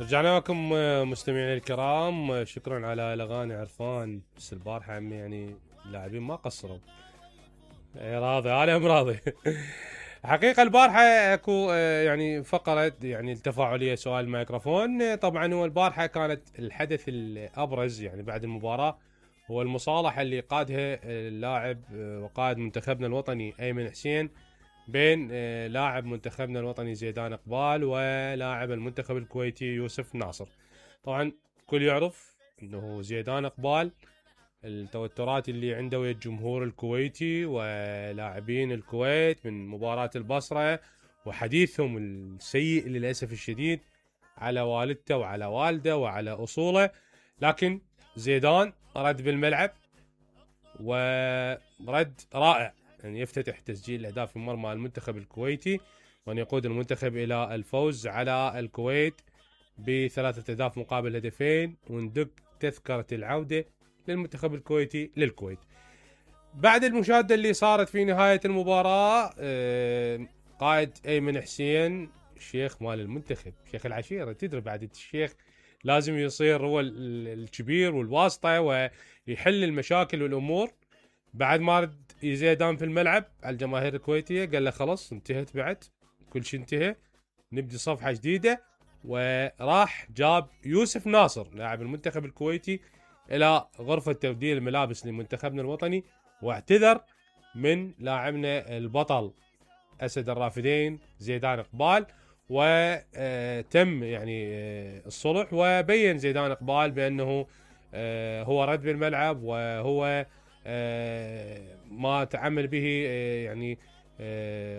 رجعنا لكم مستمعينا الكرام، شكرا على الاغاني عرفان. بس البارحه عمي يعني اللاعبين ما قصروا. راضي انا راضي. حقيقه البارحه اكو يعني فقره يعني التفاعليه سؤال الميكروفون. طبعا هو البارحه كانت الحدث الابرز يعني بعد المباراه هو المصالحه اللي قادها اللاعب وقائد منتخبنا الوطني ايمن حسين بين لاعب منتخبنا الوطني زيدان اقبال ولاعب المنتخب الكويتي يوسف ناصر. طبعا الكل يعرف انه زيدان اقبال التوترات اللي عنده ويا الجمهور الكويتي ولاعبين الكويت من مباراة البصرة وحديثهم السيء للأسف الشديد على والدته وعلى والده وعلى أصوله. لكن زيدان رد بالملعب ورد رائع، يعني يفتتح تسجيل الأهداف في مرمى المنتخب الكويتي وأن يقود المنتخب إلى الفوز على الكويت ب3 أهداف مقابل هدفين، وندق تذكرة العودة للمنتخب الكويتي للكويت. بعد المشاهدة اللي صارت في نهاية المباراة قائد أيمن حسين الشيخ مال المنتخب، شيخ العشيرة، تدري بعد الشيخ لازم يصير هو الكبير والواسطة ويحل المشاكل والأمور. بعد ما رد زيدان في الملعب على الجماهير الكويتية قال له خلص انتهت، بعد كل شيء انتهى، نبدي صفحة جديدة. وراح جاب يوسف ناصر لاعب المنتخب الكويتي الى غرفة تبديل الملابس لمنتخبنا الوطني، واعتذر من لاعبنا البطل اسد الرافدين زيدان اقبال، وتم يعني الصلح. وبين زيدان اقبال بانه هو رد بالملعب وهو ما تعمل به يعني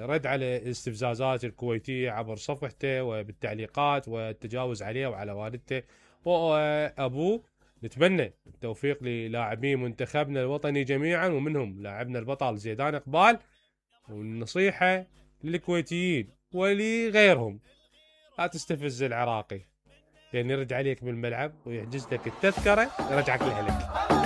رد على استفزازات الكويتية عبر صفحته وبالتعليقات والتجاوز عليه وعلى والدته وابوه. نتمنى التوفيق للاعبي منتخبنا الوطني جميعا ومنهم لاعبنا البطل زيدان اقبال. والنصيحة للكويتيين ولغيرهم لا تستفز العراقي، لان يرد عليك بالملعب ويحجز لك التذكرة يرجعك لأهلك.